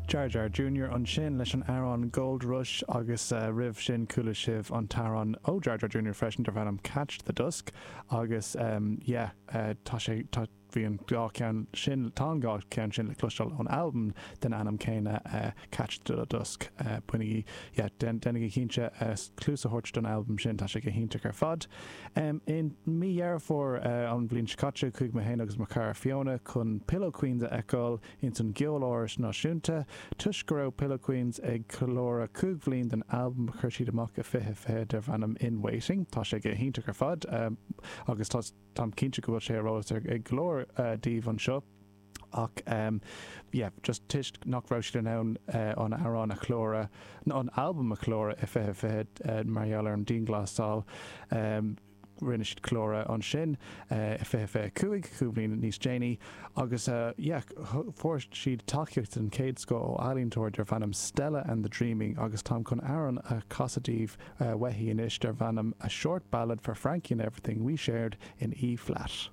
Jar Jar Junior ansin leis an amhrán Gold Rush agus roimh sin chuala sibh an t-amhrán ó Jar Jar Junior freisin darb ainm Catch the Dusk agus yeah tá sé tá bhí an dá cheann sin tá an dhá cheann sin le cloisteáil ón albam den ainm céanna Catch the Dusk. Bainigí yeah déanaigí cinnte cluas a thabhairt don albam sin tá sé go hiontach ar fad. I mí Dheireadh Fómhair an bhliain seo caite chuaigh mé féin agus mo chara Fiona chun Pillow Queens a fheiceáil ins an gCeoláras Náisiúnta. Toisc go raibh Pillow Queens ag ceiliúradh 5 bhliain den albam a chuir siad amach i 2020 darb ainm In Waiting. Tá sé go hiontach ar fad agus tá táim cinnte go bhfuil sé ar eolas ag go leor daoibh anseo ach yeah just toisc nach raibh siad in ann an amhrán a cheiliúradh, an albam a cheiliúradh i 2020 mar gheall ar an dianghlasáil. Rinne siad ceiliúradh ansin i 2025, cúig bhliain níos déanaí, agus yeah, fuair siad tacaíocht den chéad scoth ó ealaíontóir darb ainm Stella and the Dreaming agus táim chun amhrán a chasadh daoibh uaithi anois darb ainm A Short Ballad for Frankie and Everything We Shared in E Flat.